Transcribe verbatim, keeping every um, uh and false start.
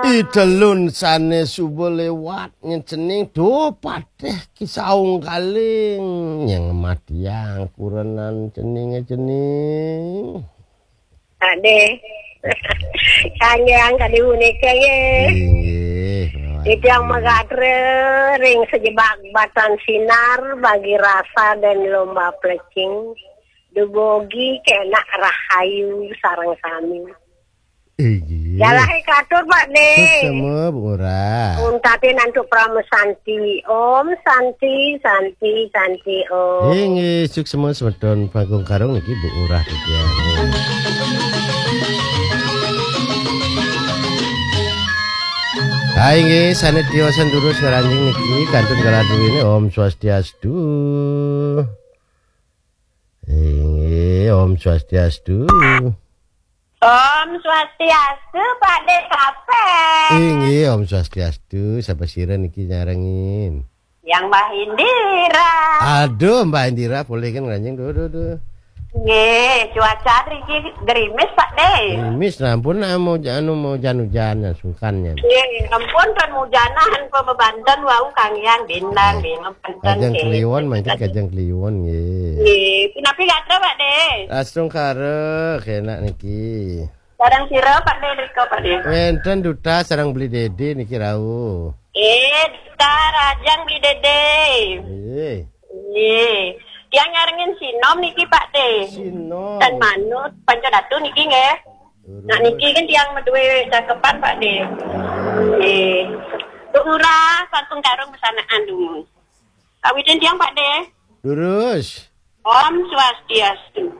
Di telun sane suba lewat nyen cening, duh, Patih Ki Saung Galing nyang matiang kurenan ceninge cening. Ade. Kanjeng kadi punika nggih. Inggih. Titiang magatra ring sajebag batan sinar, bagi rasa dan lomba plecing. Dumogi kenak rahayu sareng sami. Inggih. Jalahe katur, Pak De. Suksema, Bu Ngurah. Untatin antuk Parama Santi. Om Santi, Santi, Santi, Om. Inggih, suksema semeton Panggung Karung niki, Bu Ngurah titiang. Ha inggih, sane tiosan durus ngranjing niki kantun galah duwene. Om Swastiastu. Inggih, Om Swastiastu. Om Swastiastu, Pak De Kapek. Inggih, Om Swastiastu. Sapa sira niki nyarengin? Yang Mbah Indira. Aduh, Mbah Indira, polih kan ngranjing, duh, duh, duh. Nggih, cuaca niki gerimis, Pak De. Gerimis, nah, ampun, nah, mau anu, mau ujan-ujan, nah, sungkan nya. Nggih, ampun, kan hujanan pamebanten wau kangian bintang, nggih, pamebanten, kajeng nggih. Kliwon, mangkin kajeng kliwon, nggih. Nggih, punapi gatra, Pak De? Astungkara, kenak niki. Sareng sira, Pak De, rika, Pak De? Wenten duta sareng Beli Dede niki rauh. Eh, duta rajang Beli Dede. Nggih. Nggih. Tiang nyarengin sinom niki, Pak De. Sinom. Tan manut, Panca Datu niki nggih. Nah, niki kan tiang maduwe cakepan, Pak De. Nggih. Bu Ngurah, Panggung Karung besanaan dumun. Kawitin tiang, Pak De. Durus. Om Swastiastu.